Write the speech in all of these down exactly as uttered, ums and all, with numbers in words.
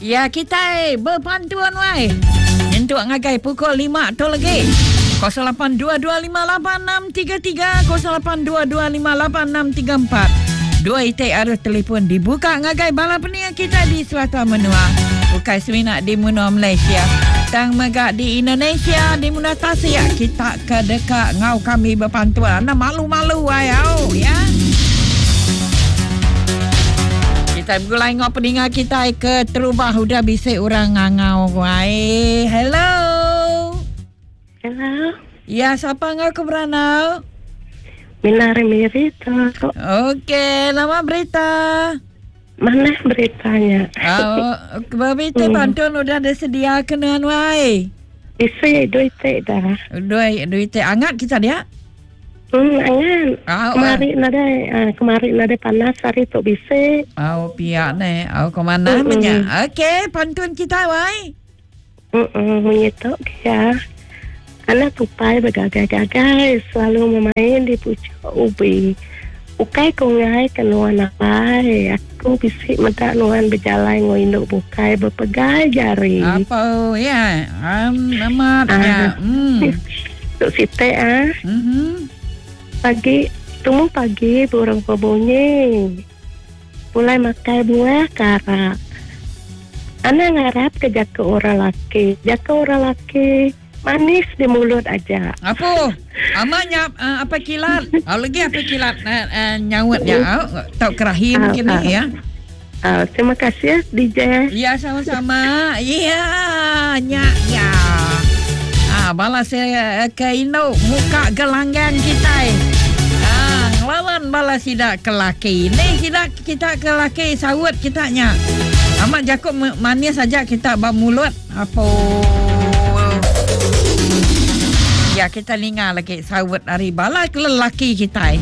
Ya kita berpantuan wai. Nyentuk ngagai pukul lima tu lagi. kosong lapan dua dua lima lapan enam tiga tiga kosong lapan dua dua lima lapan enam tiga empat. Dua itik arus telefon dibuka ngagai bala peninga kita di Selatan Menua. Bukan semina di Menua Malaysia. Tang mega di Indonesia, di Menua Tasik kita ke dekat ngau kami berpantuan. Anda malu-malu ai au ya. Kita bergulai ngau peninga kita ke terubah udah bisik orang ngangau ai. Hello. Hello. Ya, siapa ngau ke beranau? Mina Berita. Okey, nama berita. Mana beritanya? Oh, berita hmm. Pantun udah disedia kena wai. Isi duit dah. Duit duit angat kita dia. Hmm, angat. Oh, kemari uh. nadai, uh, kemari nadai panas hari tu bisik. Oh, pihak ni. Oh, ke mana punya? Okey, pantun kita wai. Hmm, menyetok ya. Anak tupai bergagai-gagai selalu memain di pucuk ubi. Ukai kungai kenuan apai. Aku bisik medak nuan berjalan ngoinduk bukai berpegai jari. Apa ya? Um, amat ah. Ya. Hmm. Tuk sitek ah. Mm-hmm. Pagi, temu pagi burung berbunyi. Pulai makai buah karak. Anak ngarap ke jaka orang laki. Jaka orang laki manis di mulut aja. Apa? Amanya uh, apa kilat? Oh, lagi apa kilat uh, uh, nyawat ya? Oh, tak kerahi mungkin uh, uh, ya. Uh, terima kasih ya D J. Ya sama-sama. Ya, nya ya. Ah, balas saya ke Indo muka gelanggang kita. Ah, ngelawan balas tidak ke laki. Ni tidak kita ke laki sawut kita nya. Amat jakut manis saja kita bab mulut. Apa? Ya, kita linga lagi sawut hari bala ke lelaki kita.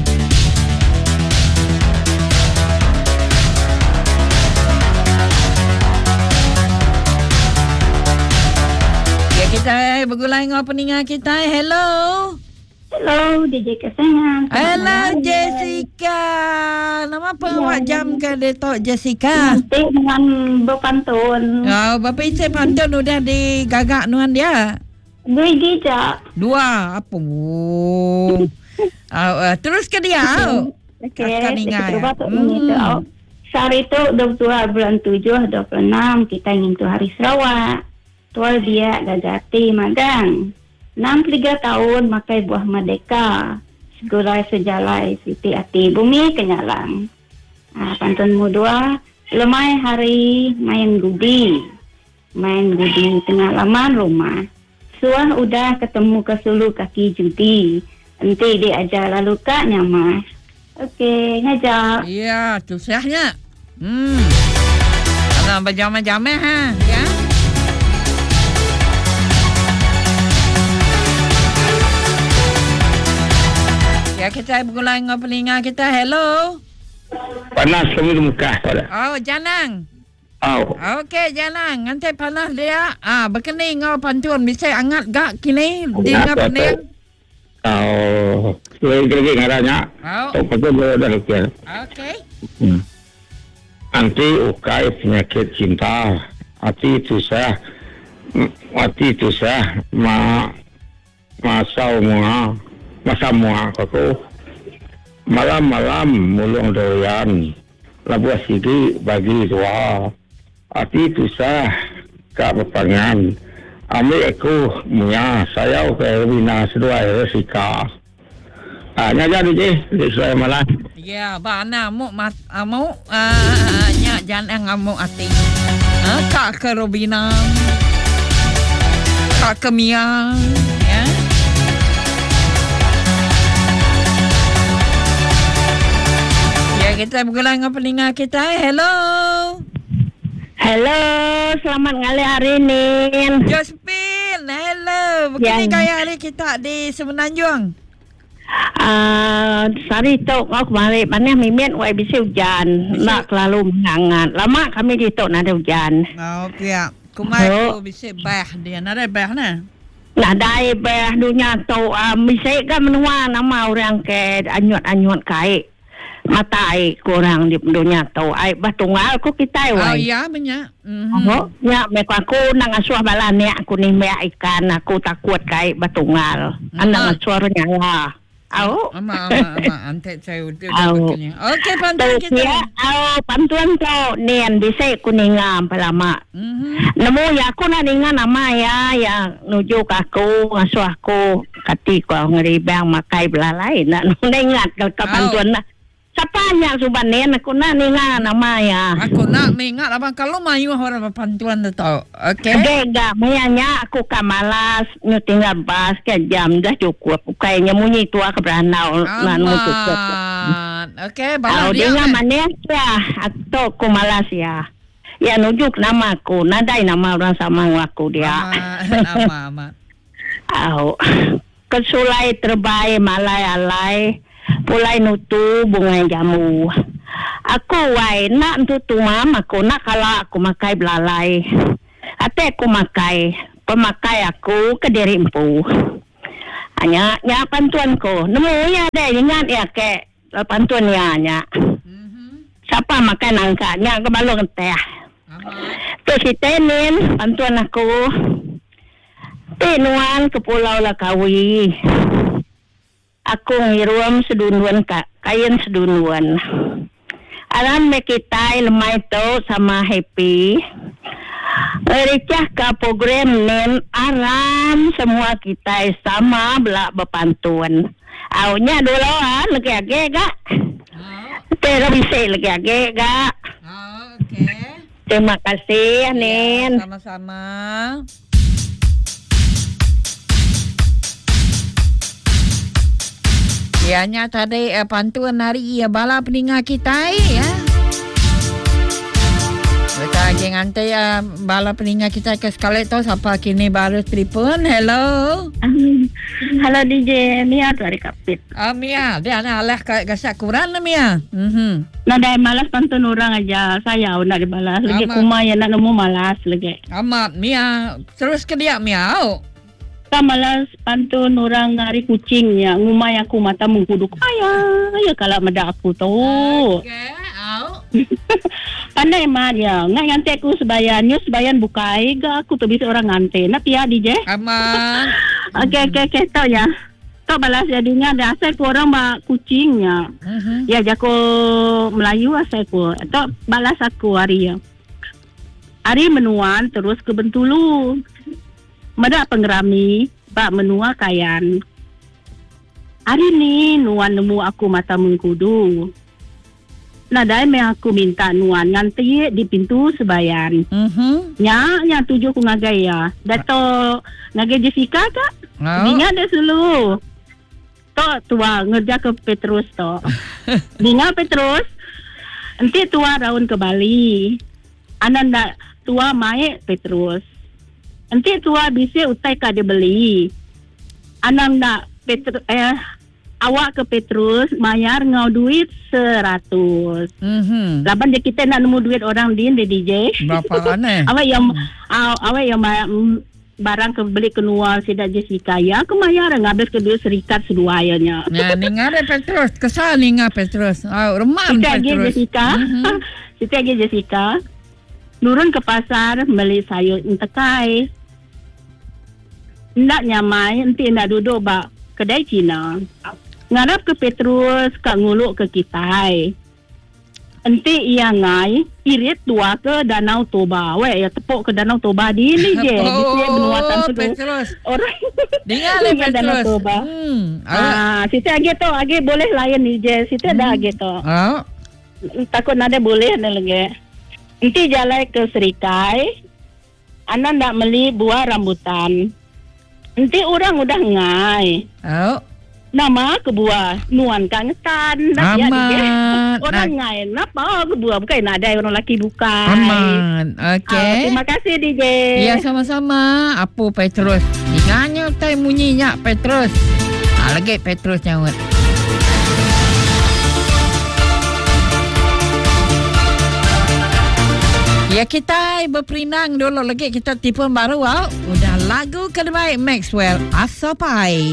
Ya, kita bergulai dengan peninga kita. Hello. Hello, D J kesayangan. Hello, Jessica. Nama apa awak jam ke detok Jessica? Nanti dengan berpantun. Oh, bapa isi pantun udah digagak nuan dia. Dua gija. Dua apa? Uh, uh, terus ke dia. Okey. Okay. Hmm. Sehari itu dua puluh dua bulan tujuh dua puluh enam kita ngintu hari Sarawak. Tual dia gagati magang. enam puluh tiga tahun makai buah merdeka. Segulai sejalai siti ati bumi kenyalang. Ah, pantun mu dua, lemai hari main gudi. Main gudi tengah laman rumah. Suah udah ketemu ke sulu kaki judi. Enti dia ajar lalu kak nyamah. Okey, ngajak. Ya, tu sahnya. Hmm. Ana berjamah-jamah ha, ya. Ya, kita bergulai dengan pelinga kita. Hello. Panas kami di muka pada. Oh, janang. Oh. Okey, jalan. Nanti panas dia. Ah, berkeni ngau pantun bisa angat gak kini di ngau pening. Oh, lagi-lagi ngaranya. Oh. Oh, betul dah okey. Okey. Hmm. Anti ukai penyakit cinta. Hati tusah. Hati tusah ma masa mua masa mua aku. Malam-malam mulung durian. Labuh sigi bagi dua. Hati tusah kak berpangan. Ambil aku muya sayau ke Rina seduai resika. Ah, nya jadi je, di sesuai malah. Ya, ba ana mu mat amu ah nya jangan ngamuk hati. Ah, kak ke Robina. Kak ke Mia, ya. Ya, kita bergulang dengan peninga kita. Hello. Hello, selamat ngalih hari ni. Josephine, hello. Begini ya. Gaya hari kita di Semenanjung. Ah, uh, sehari tu kau kemarin mana mimin wai bisi hujan, nak terlalu menghangat. Lama kami di tu nak ada hujan. Oh, pihak. Kumai tu bisi bah dia, nak ada bah nah. Nak ada bah dunia tu, uh, bisi kan menua nama orang ke anyut-anyut kai. Mata ai kurang di dunia tu. Ai bah tunggal ku kita wai. Oh ya banyak. Mm-hmm. Oh, ya mek aku nang asuh bala ni aku nimbak ikan aku takut kai bah tunggal. Anang asuh nyala. Au. Ama ama ama antek saya udah begini. Okey pantun kita. Ya, au pantun tu nian bisa ku ninga lama. Mm-hmm. Nemu ya aku nak ninga nama ya ya nuju ke aku ngasuh aku kati ku ngeribang makai belalai nak ingat ke pantun nak. Siapa yang suban nian aku nak ninga nama ya. Aku nak mengingat abang kalau mayu orang pantuan tu tahu. Okey. Okey enggak mayanya aku ka malas nyu tinggal bas ke jam dah cukup. Kayaknya munyi tua ke beranau nanu cukup. Okey, bala dia. Dengar mana ya atau aku malas ya. Ya nujuk nama aku, nadai nama orang sama aku dia. Amat amat. Au. Kesulai terbaik malai alai. Pulai nutu bunga jamu. Aku wai nak tutu mam aku nak kalau aku makai belalai. Ate aku makai, pemakai aku ke diri empu. Hanya nya pantuan ko. Nemu ya deh ingat ya ke pantun ya nya. Mm-hmm. Siapa makan nangka nya ke balong teh. Tu si tenin pantuan aku. Tinuan ke Pulau Lakawi. Aku ngirum sedunduan kak, kain sedunduan. Alam mekitai lemai tu sama happy. Recah ke program nen aram semua kita sama belak berpantun. Aunya dulu ah lagi age gak. Tera bisa lagi age gak. Okey. Terima kasih Nen. Ya, sama-sama. Ya, nya tadi eh, pantun hari ya bala peninga kita ya. Kita lagi ngantai ya bala peninga kita ke sekali tu siapa kini baru telefon. Hello. Halo D J Mia dari Kapit. Ah Mia, dia nak alah kat gasak kurang lah Mia. Mhm. Nadai malas pantun orang aja. Saya nak dibalas. Lagi kuma ya nak nemu malas lagi. Amat Mia, terus ke dia Mia. Oh. Malas pantun orang ngari kucingnya ngumai aku mata mengkuduk ayah ya kalau meda aku tu. Okey, au. Pandai mah dia. Ngai nganti aku sebayan, nyu sebayan bukai ga aku tu bisa orang nganti. Nak pia D J? Aman. Okey okey okey tau ya. Tau balas jadinya ada asal ku orang bak kucingnya. Uh-huh. Ya jako Melayu asal ku. Tau balas aku hari ya. Hari menuan terus ke Bentulu. Medak pengerami bak menua kayan. Hari ni nuan nemu aku mata mengkudu. Nadai me aku minta nuan nganti di pintu sebayan. Mhm. Nya nya tuju ku ngagai ya. Dato ngagai Jessica kak? Oh. Dinga dah sulu. Tok tua ngerja ke Petrus tok. Dinga Petrus. Enti tua raun ke Bali. Anan dak tua mae Petrus. Enti tua bisa utai ka dia beli. Anang nak Petru, eh awak ke Petrus mayar ngau duit seratus. Mhm. Laban dia kita nak nemu duit orang din di D J. Berapa aneh? Awak yang mm. awak yang barang ke beli keluar sidak Jessica ya aku mayar ngabis ke duit serikat seduanya. Nah, ninga de Petrus, kesal ninga Petrus. Oh, remam Petrus. Jessica. Mm-hmm. Siti lagi Jessica. Nurun ke pasar beli sayur entekai. Ndak nyamai, enti ndak duduk bak kedai Cina. Ngarap ke Petrus kak nguluk ke kitai. Enti ia ngai irit tua ke Danau Toba. Weh ya tepuk ke Danau Toba di ni je. Di sini benua tu. Petrus. Orang dengar le Petrus. Danau Toba. Hmm. Ah, situ agi tu agi boleh layan ni je. Situ hmm. dah agi tu. Ah. Takut nada boleh ni lagi. Enti jalan ke Serikai. Anak nak beli buah rambutan. Enti orang udah ngai. Oh. Nama ke buah nuan kang tan. Amat. Orang ngai napa ke buah bukan ada orang laki bukan. Aman. Okey. Ah, terima kasih D J. Ya sama-sama. Apa Petrus? Ingatnya tai bunyinya Petrus. Ah lagi Petrus nyaut. Ya kita berperinang dulu lagi kita tipu baru au. Udah lagu terbaik Maxwell Asopai.